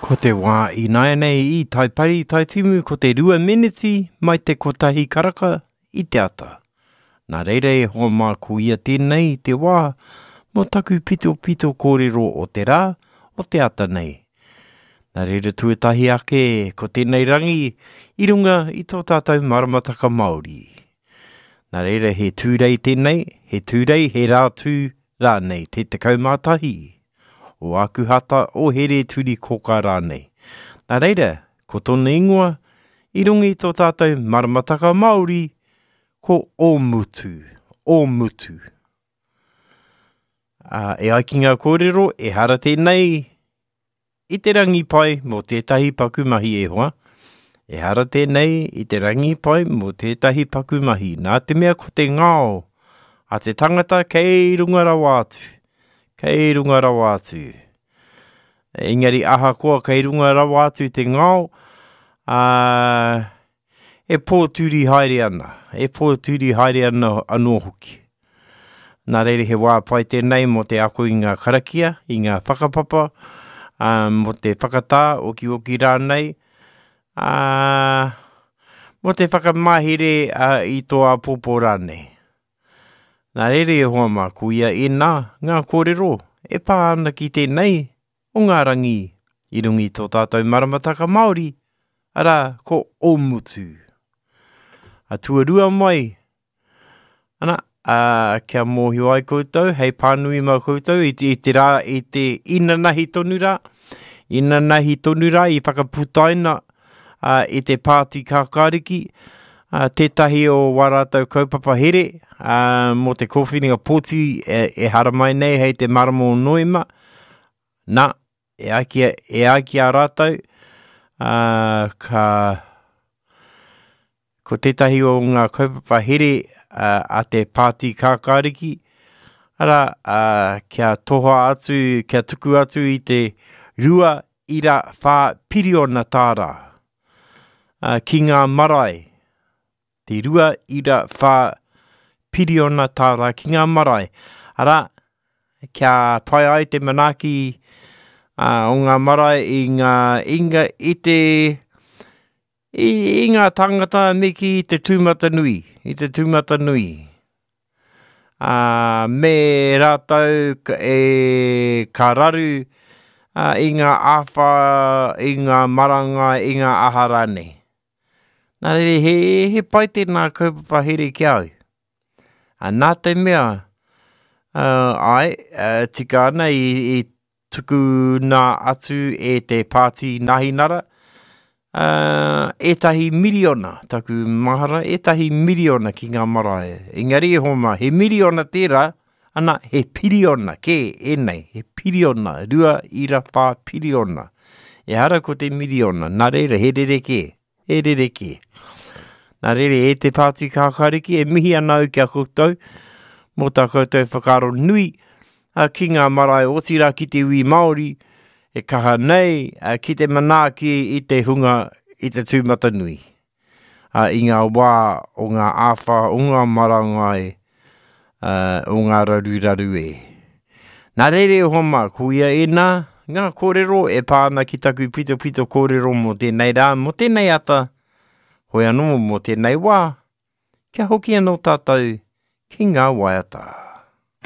Ko te wā ināianei i Taipari, Taitimu, ko te rua meneti mai te kotahi karaka i te ata. Nā reira e hoa mā ko ia tēnei te wā mō taku pitopito kōrero o te rā, o te ata nei. Nā reira tuatahi ake ko tēnei rangi i runga i tō tātou maramataka Māori. Nā reira he tūrei tēnei, he tūrei, he rātū rānei, te 11 o Ākuhata, o Here-turi-kōkā rānei. Nā reira, ko tōna ingoa, i runga i tō tātou maramataka Māori, ko Ōmutu, Ōmutu. Ā, e ai ki ngā kōrero, ehara tēnei i te rangi pai mō tētahi paku mahi e hoa. Ehara tēnei i te rangi pai mō tētahi paku mahi, nā te mea ko te ngao a te tangata kei runga rawa atu, kei runga rawa atu. Engari ahakoa kei runga rawa atu te ngao, ā, e pōturi haere ana, e pōturi haere ana anō hoki. Nā reira he wā pai tēnei mō te ako i ngā karakia, i ngā whakapapa, ā, mō te whakatā, okioki rānei, ā, mō te whakamahere i tō āpōpō rānei. Nā reira e hoa mā, ko ia ēnā ngā kōrero e pā ana ki tēnei o ngā rangi i runga i tō tātou maramataka Māori, arā, ko Ōmutu. A tuarua mai, ana, ā, kia mōhio ai koutou, hei pānui mā koutou i te, i te rā, i te inanahi tonu rā, inanahi tonu rā i whakaputaina ā, i te Pāti Kākāriki, ā, tētahi o wā rātou kaupapa here, ā, mō te kōwhiringa pōti e, e haramai nei hei te marama o Noema, Nā, e ai ki, e ai ki a rātou, ā, ka, ko tētahi o ngā kaupapa here a te Pāti Kākāriki, arā, ā, kia toha atu, kia tuku atu i te 2.4 piriona tāra, ā, ki ngā marae, te 2.4 piriona tāra ki ngā marae, arā, kia pai ai te manaaki o ngā marae i ngā inga i te i, i ngā tāngata me ki te tūmatanui, i te tūmatanui. Ā, me rātou e ka raru i ngā āwhā, i ngā marangai, i ngā aha rānei. Nā reira, he, he pai tēnā kaupapa here ki a au. A, nā te mea, uh, ai, uh, tika ana i, i tukuna atu e te pāti Nahinara, uh, ētahi miriona, taku mahara, ētahi miriona ki ngā marae. Engari e homa, he miriona tērā, ana, he piriona kē ēnei, he piriona, 2.4 piriona. Ehara ko te miriona, nā reira, he rerekē, he rerekē. Nā reira, e te Pāti Kākāriki, e mihi ana au ki a koutou, mō tā koutou whakaaro nui ki ngā marae, otirā ki te iwi Māori, e kaha nei ki te manaaki i te hunga i te tūmatanui. ā, i ngā wā o ngā āwhā, o ngā marangai, ā, o ngā raruraru e. Nā reira e hoa mā, ko ia ēnā ngā kōrero e pā ana ki taku pitopito kōrero mō tēnei rā, mō tēnei ata, hoi anō mō tēnei wā, kia hoki anō tātou ki ngā waiata.